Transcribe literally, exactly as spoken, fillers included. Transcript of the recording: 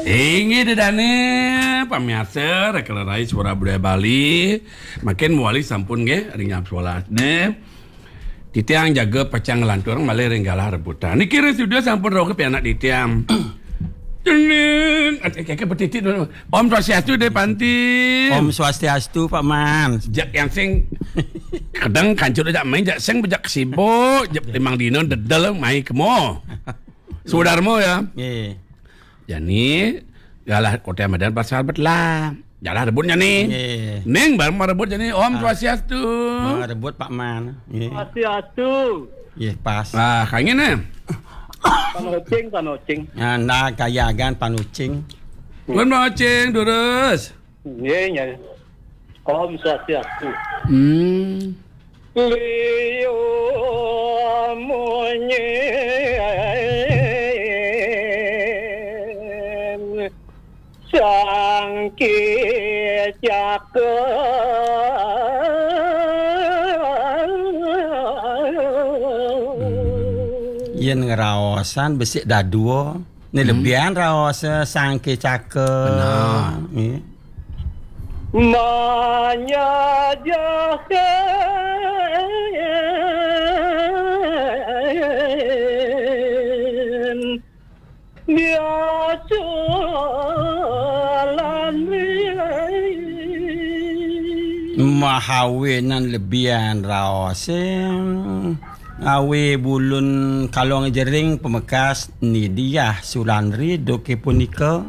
Inggih ida dané, pamiarsa Raka Lerai Suara Budaya Bali. Mangkin mawali sampun nggih ring jam sebelas nggih. Titiang jaga pacang nglantur malih ring galah rebutan. Niki ring studio sampun rauh pianak titiang. Cening, adik keke betitik dulu. Om Swastiastu, Dé Panti. Om Swastiastu, Pak Man. Jak yang sing kadang kancur jak main, jak sing bejak sibuk, jak limang dina dedel mai kemo. Sudarma ya. Nggih. Jani galah Kote Madan pasar betlah. Galah rebut jani. Nggih. Ning bareng rebut jani. Om Ah. Swastiastu. Ah, rebut Pak Man. Nggih. Swastiastu. Nggih, pas. Ah, kangin eh. Panocing, panocing. Nah, nah, kayagan panocing. Pun panocing, durus. Nggih, nggih. Om Swastiastu. Hmm. Liu munyin Sangke Caka. Yén ngraosan besik dadua, né Hmm. lebihan raos Sangke Caka. Benar. Nggih. Manyajaken biasa lan riwé. Mahawinan lebihan raosé, awi bulun kalong jering pamekas Nidiah Sulandri duké punika.